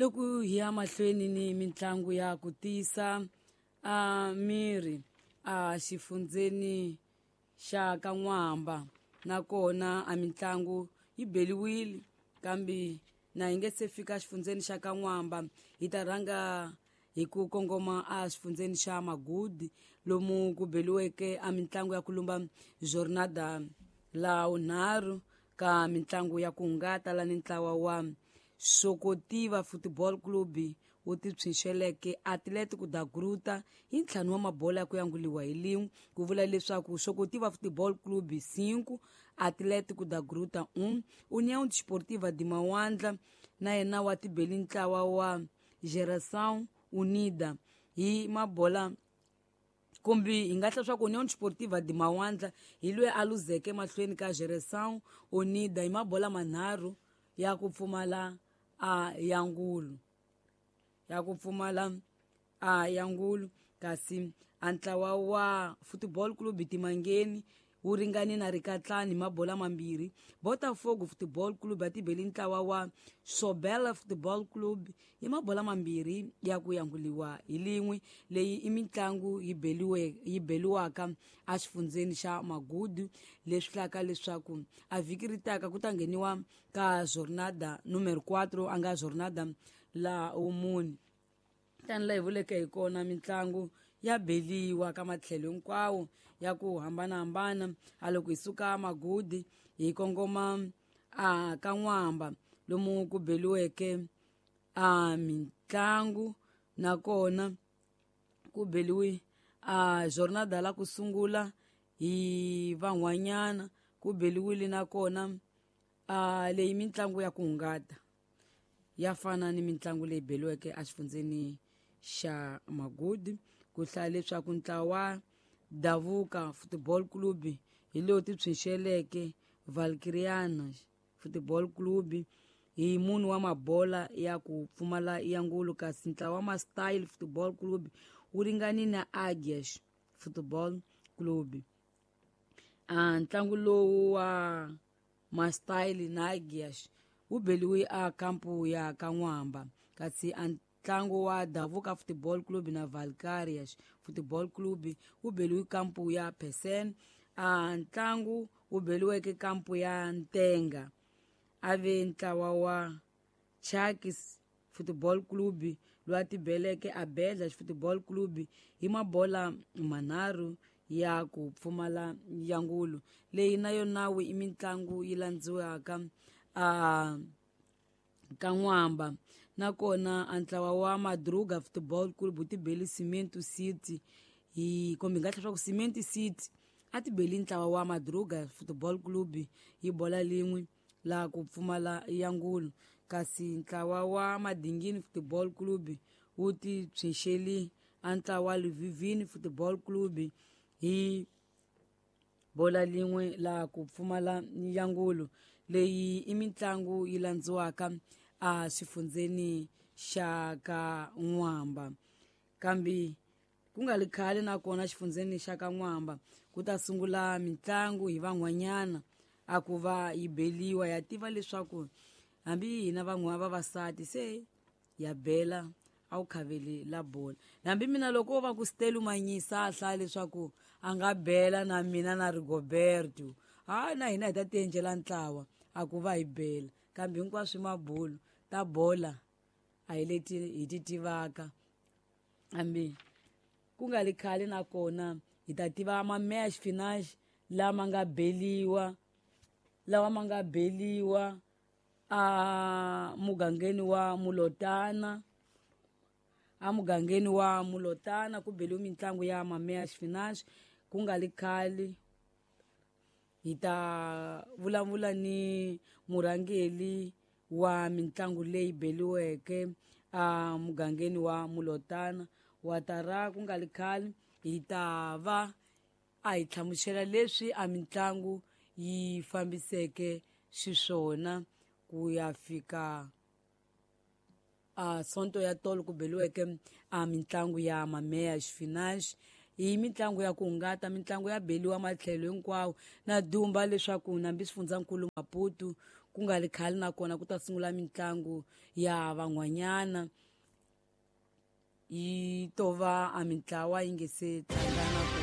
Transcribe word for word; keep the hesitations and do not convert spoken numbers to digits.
Loko hi ya mahlweni ni mitlangu ya ku tiyisa a miri a xifundzeni xa ka N'wamba, nakona a mitlangu yi beliwile, kambe na hi nge se fika xifundzeni xa ka N'wamba, hi ta rhanga hi ku kongoma a xifundzeni xa Magudi, lomu ku beliweke a mitlangu ya ku lumba jornada la vunharhu ka mitlangu ya ku hungata la ni ntlawa wa Sokotiva Football Club wu tipsinxeleke Atlético da Gruta hi ntlhanu wa mabola ya ku yanguliwa hi lin'we, ku vula leswaku Sokotiva Football Club cinco, Atlético da Gruta um. União Desportiva de Mawandla na yena wa tibeli ntlawa wa Geração Unida hi mabola, kumbe hi nga hla swa ku União Desportiva de Mawandla hi loyi a luzeke mahlweni ka Geração Unida hi mabola manharhu ya ku pfumala a yangulu ya ku pfumala a yangulu. Kasi a ntlawa wa Football Club Timangeni wu ringane na Rikatlani hi mabola mambirhi. Botafogo Football Club ya tibeli ntlawa wa Sobela Football Club hi mabola mambirhi ya ku yanguliwa hi lin'we. Leyi i mitlangu yi beliwe yi beliwaka exifundzeni xa Magudu, leswi hlaka leswaku a vhiki ri taka ku ta ngheniwa ka jornada numero quatro, a nga jornada la wumune. Tani laha hi vuleke hi kona, mitlangu ya beliwa ka matlhelo hinkwawo ya ku hambanahambana. A loko hi suka Magudi hi kongoma a ka N'wamba, lomu ku beliweke a mitlangu, nakona ku beliwe a jornada la ku sungula hi van'wanyana, ku beliwile nakona a leyi mitlangu ya ku hungata ya fana ni mitlangu leyi beliweke exifundzeni xa Magudi. Ku hlaya leswaku ntlawa wa Davuka Football Club hi lowu tipsinxeleke Valkyriana Football Club hi munhu wa mabola ya ku pfumala yangulu, kasi ntlawa wa Mastyle Football Club wu ringani na Agias Football Club. A ntlangu lowu wa Mastyle na Agias wu beliwe a kampu ya ka N'wamba, kasi a ntlangu wa Davuka Football Club na Valkyrias Football Club wu beliwe kampu ya Pesen. A ntlangu wu beliweke kampu ya Ntenga a ve ntlawa wa Chakis Football Club loyi a tibeleke a Bedla Football Club hi mabola manharhu ya ku pfumala yangulu. Leyi na yona i mitlangu yi landziwaka a ka N'wamba. Nakona a ntlawa wa Madruga Football Club wu tibeli Cement City hi kumbe hi nga hla swa ku Cement City a tibeli ntlawa wa Madruga Football Club hi bola lin'we la ku pfumala yangulu, kasi ntlawa wa Madingini Football Club wu tipsinxeli a ntlawa wa Luvivini Football Club hi bola lin'we la ku pfumala yangulu. Leyi i mitlangu yi landziwaka a xifundzeni xa ka N'wamba. Kambe ku nga li khale nakona xifundzeni xa ka N'wamba ku ta sungula mitlangu hi van'wanyana a ku va yi beliwa. Ya tiva leswaku hambi hina van'wana vavasati se ya bela a wu khaveli la bola. Hambi mina loko wo va ku Stelu Manyisa a hlaya leswaku a nga bela na mina na Rigoberto, hayi na hina hi ta tiendlela ntlawa a ku va hi bela. Kambe hinkwaswo i mabulu ta bola a hi leti hi ti tivaka. Hambi ku nga li khale nakona hi ta tiva ma-match finance lama nga beliwa, lawa ma nga beliwa a mugangeni wa Mulotana. A mugangeni wa Mulotana ku beliwe mitlangu ya ma-match finance. Ku nga li khale hi ta vulavula ni murhangeri wa mitlangu leyi beliweke a mugangeni wa Mulotana wa tara. Ku nga li khale hi ta va a hi hlamusela leswi a mitlangu yi fambiseke xiswona ku ya fika a sonto ya tolo ku beliweke a mitlangu ya ma-match finance. Hi mitlangu ya ku hungata, mitlangu ya beliwa matlhelo hinkwawo. Na dumba leswaku nambi swifundzankulu Maputo ku Ku nga ri khale nakona ku ta sungula mitlangu ya van'wanyana, yi to va a mintlawa yi nge se tlangana.